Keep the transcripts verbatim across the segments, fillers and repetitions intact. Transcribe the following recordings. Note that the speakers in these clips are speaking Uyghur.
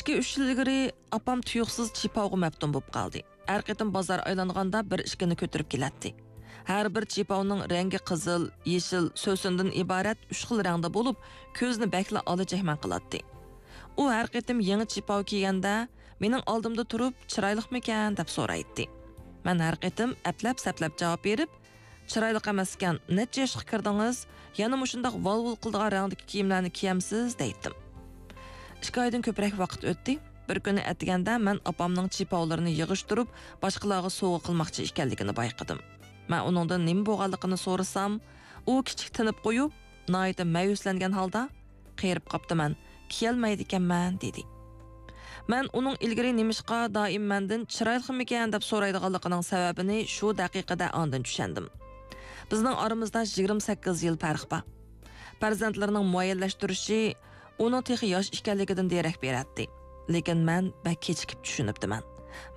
ئىككى-ئۈچ يىل ئىلگىرى ئاپام تۇيۇقسىز چىپاۋغا مەپتۇن بولۇپ قالدى. ھەر قېتىم بازار ئايلانغاندا بىر ئىككىنى كۆتۈرۈپ كېلەتتى. ھەر بىر چىپاۋنىڭ رەڭگى قىزىل، يېشىل، سۆسۈندىن ئىبارەت ئۈچ خىل رەڭدە بولۇپ، كۆزنى بەكلا ئالاجەكمەن قىلاتتى. ئۇ ھەر قېتىم يېڭى چىپاۋ كىيگەندە، مېنىڭ ئالدىمدا تۇرۇپ، «چىرايلىقمىكەن؟» دەپ سورايتتى. مەن ھەر قېتىم ئەپلەپ-سەپلەپ جاۋاب بېرىپ، «چىرايلىق ئەمەسكەن، نەچچە ياشقا كىردىڭىز؟ يەنە مۇشۇنداق ۋال-ۋۇل قىلىدىغان رەڭدىكى كىيىملەرنى كىيەمسىز؟» دەيتتىم. ئىككى ئايدىن كۆپرەك ۋاقىت ئۆتتى. بىر كۈنى ئەتىگەندە مەن ئاپامنىڭ چىپاۋلىرىنى يىغىشتۇرۇپ، باشقىلارغا سوۋغا قىلماقچى ئىكەنلىكىنى بايقىدىم. مەن ئۇنىڭدىن نېمە بولغانلىقىنى سورىسام، ئۇ كىچىك تىنىپ قويۇپ، ناھايىتى مەيۈسلەنگەن ھالدا، «قېرىپ قاپتىمەن، كىيەلمەيدىكەنمەن» دېدى. مەن ئۇنىڭ ئىلگىرى نېمىشقا دائىم مەندىن «چىرايلىقمىكەن؟» دەپ سورايدىغانلىقىنىڭ سەۋەبىنى شۇ دەقىقىدە ئاندىن چۈشەندىم. بىزنىڭ ئارىمىزدا يىگىرمە سەككىز يىل پەرق بار. پەرزەنتلىرىنىڭ مۇئەييەنلەشتۈرۈشى ئۇنىڭ تېخى ياش ئىكەنلىكىدىن دېرەك بېرەتتى. لېكىن مەن بەك كېچىكىپ چۈشىنىپتىمەن.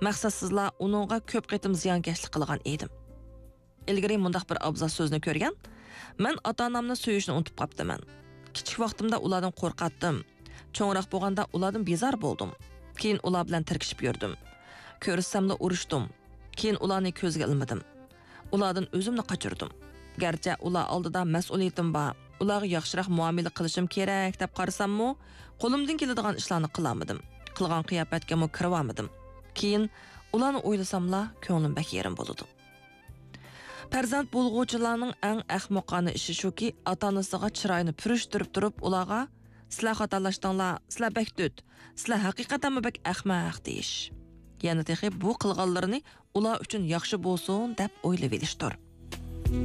مەقسەتسىزلا ئۇنىڭغا كۆپ قېتىم زىيانكەشلىك قىلغان ئىدىم. ئىلگىرى مۇنداق بىر ئابزاس سۆزنى كۆرگەن، مەن ئاتا-ئانامنى سۆيۈشنى ئۇنتۇپ قاپتىمەن. كىچىك ۋاقتىمدا ئۇلاردىن قورقاتتىم. چوڭراق بولغاندا ئۇلاردىن بىزار بولدۇم. كېيىن ئۇلار بىلەن تىركىشىپ يۈردۈم. كۆرۈشسەملا ئۇرۇشتۇم. كېيىن ئۇلارنى كۆزگە ئىلمىدىم. ئۇلاردىن ئۆزۈمنى قاچۇردۇم. گەرچە ئۇلار ئالدىدا مەسئۇلىيىتىم بار، ئۇلارغا ياخشىراق مۇئامىلە قىلىشىم كېرەك دەپ قارىساممۇ، قولۇمدىن كېلىدىغان ئىشلارنى قىلالمىدىم. قىلغان قىياپەتكىمۇ كىرىۋالمىدىم. كېيىن ئۇلارنى ئويلىساملا، كۆڭلۈم بەك يېرىم بولىدۇ. پەرزەنت بولغۇچىلارنىڭ ئەڭ ئەخمىقانە ئىشى شۇكى، ئاتا-ئانىسىغا چىرايىنى پۈرۈشتۈرۈپ تۇرۇپ، ئۇلارغا، «سىلەر خاتالاشتىڭلار، سىلەر بەك دۆت، سىلەر ھەقىقەتەنمۇ بەك ئەخمەق» دېيىش. يەنە تېخى بۇ قىلغانلىرىنى ئۇلار ئۈچۈن ياخشى بولسۇن دەپ ئويلىۋېلىشتۇر.